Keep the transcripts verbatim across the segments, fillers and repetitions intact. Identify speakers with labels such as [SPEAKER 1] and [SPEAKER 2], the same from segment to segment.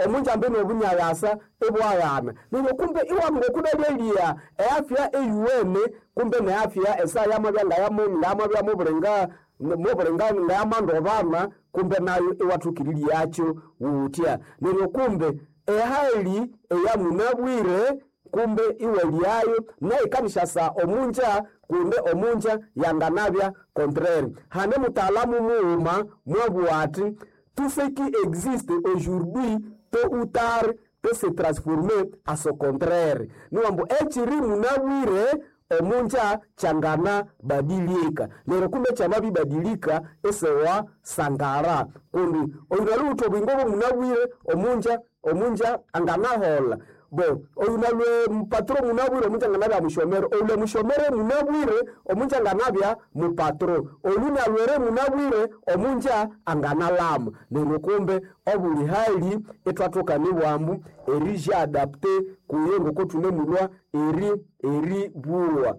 [SPEAKER 1] Omunja mbene obunyayasa ibwaghana. Neryo kumbe iwamugokudalyelia eafya eyuwene kumbe neafya esaya yamabya ngayamabya mubulinga mubulinga ngayamandobana kumbe nayo iwathukiriryacho wutya. Neryo kumbe ehali eyamunabwire kumbe iwalyayo nayikanishasa omunja kundi omunja yanganabya contraire. Hane mutaalamu mughuma mwabugha athi tout ce qui existe aujourd'hui tôt ou tard peut se transformer à son contraire. Niwambu ekiri munabwire omunja kyangana badilika. Neryo kumbe kyamabibadilika isiwa sangara kundi oyunalhuwithe obuyingo bw'omunabwire omunja omunja anganaholha. Bo oyunalwe mupatro munabwire omunja anganabya mushomere, oyulwe mushomere munabwire omunja anganabya mupatro, oyunalwere munabwire omunja anganalama. Neryo kumbe obuli hali ithwathoka nibwambu erijiadapte kuyo ngoko thunemulhwa eri eribugha.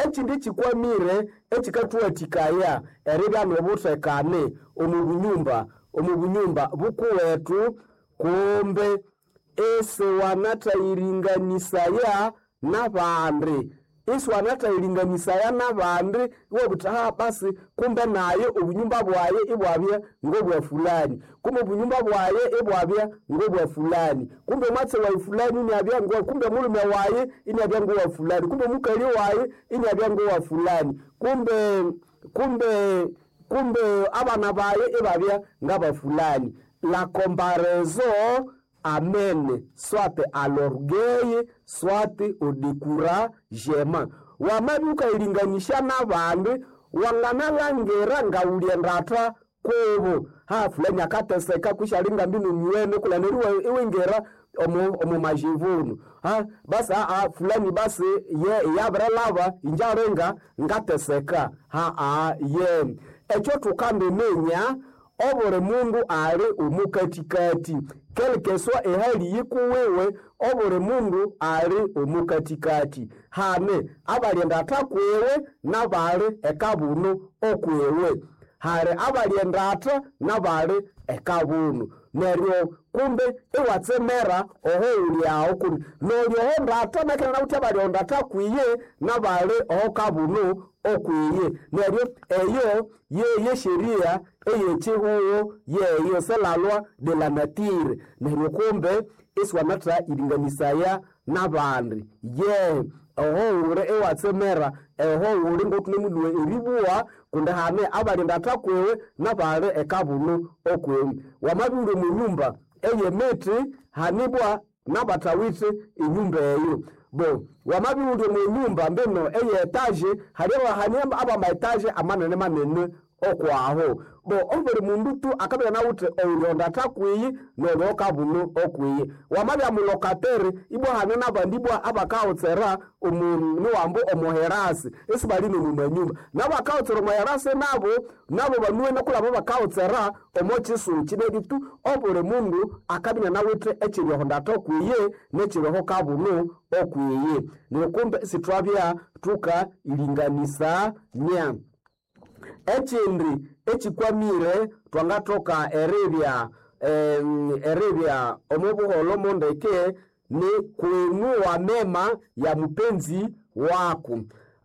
[SPEAKER 1] Ekindi ekikwamire ekikathuwathikaya eribya n'obuthekane omu bunyumba omu bunyumba bukuwethu kumbe isiwanathayiringanisaya n'abandi isiwanathayiringanisaya n'abandi iwabugha wuthi basi kumbe naye obunyumba bwaye ibwabya ngobwa fulani, kumbe obunyumba bwaye ibwabya ngobwa fulani, kumbe omwatsi wayi fulani iniabya kumbe omulhume wayi iniabya ngowa fulani, kumbe omukali wayi iniabya ngowa fulani, kumbe kumbe kumbe abana bayi ibabya ngaba fulani. La comparaison amène soit à l'orgueil soit au découragement. Wamabya wukayiringanisya n'abandi wanganalangira ngawuli endatha kubo ha fulani akateseka kutse ali ngambino myuwene kulha neryo iwingira omu omu majivuno ha basi aa fulani basi ye yabirilhaba inje alinga ngateseka haa ye ekyo thukandiminya obuli mundu ali omukathikathi quelque soit ehali yikuwiwe obuli mundu ali omukathikathi hane abali endatha kwiwe nabali ekabuno okwiwe hali abali endatha nabali ekabuno neryo kumbe iwatsemera oho wuli aho kundi noli oho ndatha nakina nawithe abali oho ndatha kwiye nabali oho kabuno okwiye neryo eyo yeyesheria eyekyihugho yeyo c'est la loi de la nature neryo kumbe isiwanatha iringanisaya n'abandi ye oho wuli iwatsemera oho wuli ng'othunemulhuwa eribugha kundi hane abali ndatha kwiwe nabali ekabuno okwiwe wamabya iwuli omu nyumba ey'emithi hanibwa nabathawithe enyumba eyo bo wamabya iwuli omu nyumba mbino eye etage hali abama etage amanene manene okwaho bo obuli mundu tu akabya inawithe oyuli ondatha kwiyi noli okabuno okwiyi wamabya mulokatere ibwa hane nabandi ibwa abakahotsera omu niwambu omuherasi isibali nomumanyumba nabakahotsera omuherasi nabo nabo banuwene kulaba bakahotsera omo kyisukyi neryo tu obuli mundu akabya inanawithe ekyiri oho ndatha okwiyi nekyiri oho kabuno okwiyi neryo kumbe isithwabya thukayiringanisania. Ekindi ekikwamire thwangathoka eribya eribya omo buholho mondeke ni kuinua mema ya mupenzi waku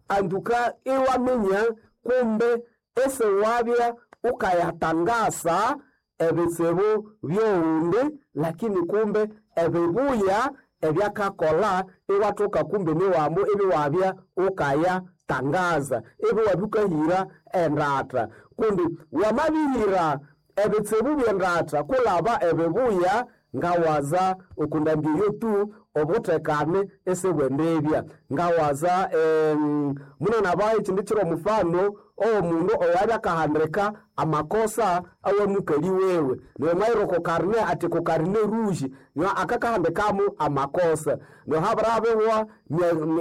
[SPEAKER 1] anduka iwaminya kumbe isiwabya ukayatangasa ebitsibu by'owundi lakini kumbe ebibuya ebyakakolha iwathoka kumbe niwambu ibiwabya ukayatangaza ibiwabya ukahira endatha kundi wamabihira ebitsibu by'endatha kulaba ebibuya ngawaza okundambi eyo tu obuthekane isibwendibya ngawaza em, munanabaha ekindi kiro omufano owomundu oyabya akahandika amakosa awamukali wewe neryo mwayira oko karne ati ku karne rouge nyo akakahandikamu amakosa neryo habirabihwa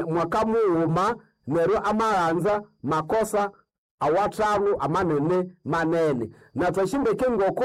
[SPEAKER 1] mwaka mughuma neryo amaghanza makosa awathanu amanene manene na twashimbeke ngoko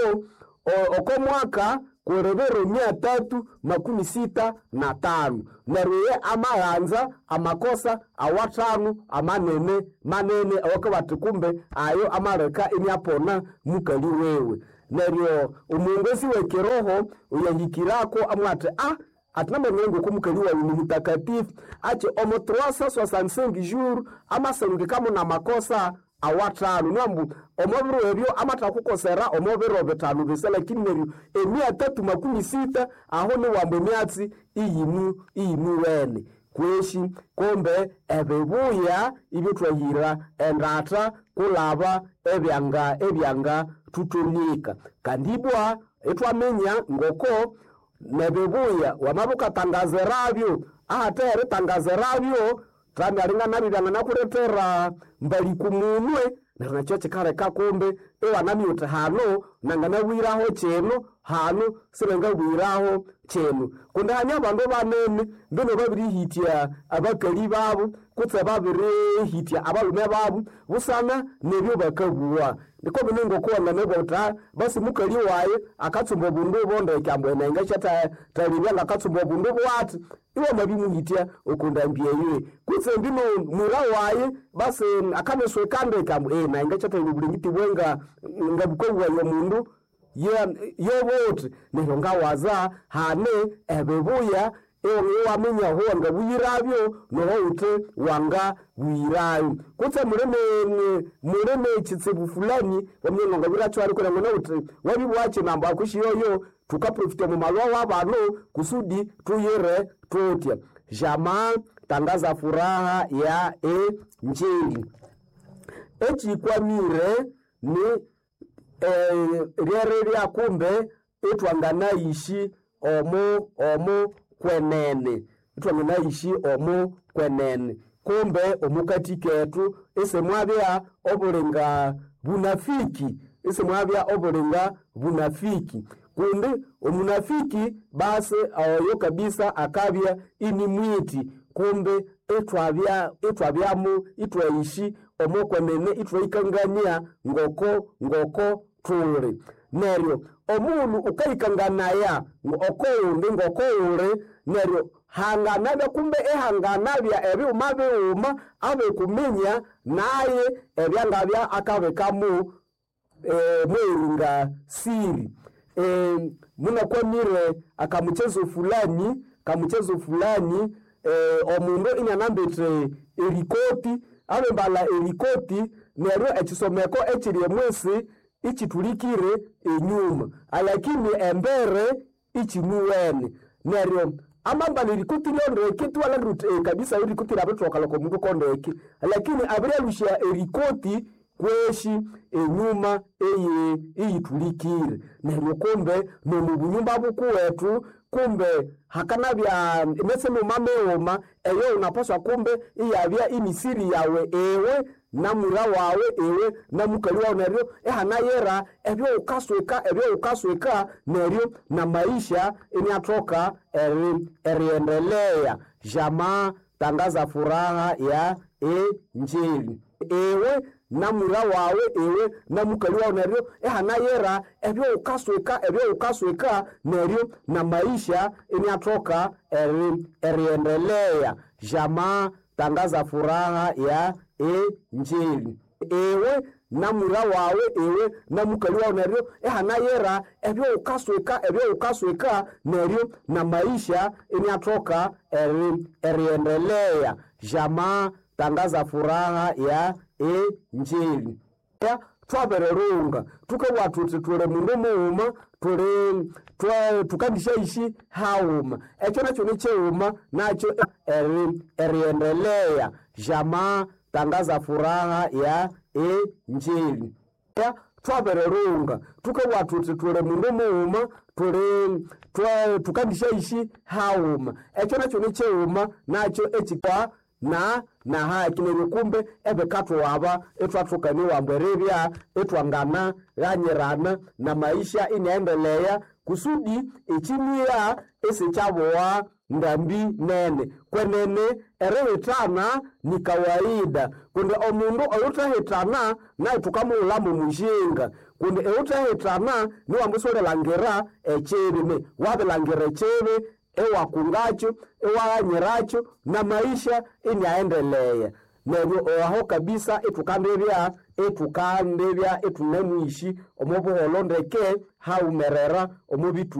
[SPEAKER 1] oko mwaka kuli biro mia tatu makumi sita na tano neryo ye amaghanza amakosa awathanu amanene manene awakabathi kumbe ayo amaleka iniapona mukali wewe. Neryo omuongozi w'ekiroho oyahikirako amwati a ati namanyire ngoko mukali wawe ni mutakatifu achi omo trois cent soixante-cinq jours amasengekamo na makosa awathanu nwambu omo biro ebyo amathakukosera omo biro bithanu bisa lakini neryo emia tatu makumi sita aho niwambu emyatsi iyinu iyinuwene kweshi kumbe ebibuya ibyo endatha kulaba ebyanga ebyanga thutonika kandi ibwa ithwaminya ngoko nebibuya wamabya wukatangaziravyo ahathe eritangazirabyo thamyalinga nabyo byanganakulethera mbali kumunwe neryo nakyo kikaleka kumbe iwanamya wuthi hano nanganabwiraho kino hano sinangabwiraho kino kundi hanya abandu banene mbino babirihitya abakali babu kutse babirihitya abalhume babu busana nebyo bakabuwa niko bino ngoko wanganabugha wuthi "Ah, basi mukali wayi akatsumba obundu obo ndeke ambu enenga syathalibya ngakatsumba obundu bwathi iwamabimuhitya okundambi eyo kutse mbino mwira wayi basi akanisweka ndeke ambu eh nayi ngasyathalibya obulengiti bwenga ngabukabughaye omundu yobuthi neryo ngawaza hane ebibuya iwaminya aho wangabuyirabyo noho wuthi wangabuyirayo kutse muli ne- muli nekitsibu fulani waminya ngangabwiracho aliko nangona wuthi wabibwakyi nambu akushiyoyo thukaprofita omu malwa wabano kusudi tuyire tutya jamaa tangaza furaha ya enjili ekikwamire ni eh, lyeribya kumbe ithwanganayishi omu omu kwenene ithwanganayishi omu kwenene kumbe omukati kethu isimwabya obulinga bunafiki isimwabya obulinga bunafiki kundi omunafiki basi oyo kabisa akabya ini mwiti kumbe ithwabya ithwabyamu ithwayishi omukwenene ithwayikangania ngoko ngoko thuli neryo omundu wukayikanganaya okowundi ngokowuli neryo hanganabya kumbe ihanganabya ebighuma bighuma abikuminya naye ebyangabya akabikamu eh, mweringa siri eh, munakwamire akamuchezo fulani kamuchezo fulani eh, omundu inyanambithe erikoti abembala erikoti neryo ekisomeko ekiri emwisi ichithulikire enyuma alakini embere ichinuwene neryo amambala erikoti lyondeke tiwalhangira wuthi eh, kabisa erikoti lyabithoka loko mundu kondeke lakini abiryalusya erikoti kweshi enyuma eye iyithulikire neryo kumbe nomu bunyumba bukuwethu kumbe hakanabya emyatsi mighuma mighuma eyo wunapaswa kumbe iyabya inisiri yawe iwe namwira wawe iwe namukali wawu neryo ihanayira ebyowukaswika ebyowukaswika neryo namaisha iniathoka eri eriendelea jamaa tangaza furaha ya enjili iwe namwira wawe iwe namukali wawu neryo ihanayira ebyowukaswika ebyowukaswika neryo namaisha iniathoka eri eriendelea jamaa tangaza furaha ya enjili iwe namwira wawe iwe namukali wawu neryo ihanayira ebyowukaswika ebyowukaswika neryo namaisha iniathoka eri eriendelea jamaa tangaza furaha ya enjili ya thwabirirunga thukabugha thuthi thuli mundu mughuma thuli thukandisyayishi haghuma ekyo nakyo nikyighuma nakyo eri eriendelea jamaa tangaza furaha ya enjili ya thwabirirunga thukabugha thuthi thuli mundu mughuma thuli thukandisyayishi haghuma ekyo nakyo nikyighuma nakyo ekikwa na na haki neryo kumbe ebikathuwaba ithwathukaniwa ambu eribya ithwangana ghanyirana na maisha iniaendelea kusudi ekimiya isikyabowa ndambi nene kwenene erihithana ni kawaida kundi omundu oyuthahithana naye thukamughulhamu mujinga kundi eyuthahithana niwambu isiwulilhangira ekibi ne wabilhangira ekibi iwakungakyo iwaghanyiracho na maisha iniaendelea. Neryo aho kabisa ithukandibya ithukandibya ithunemwishi omo buholho ndeke haghumerera omo bithu.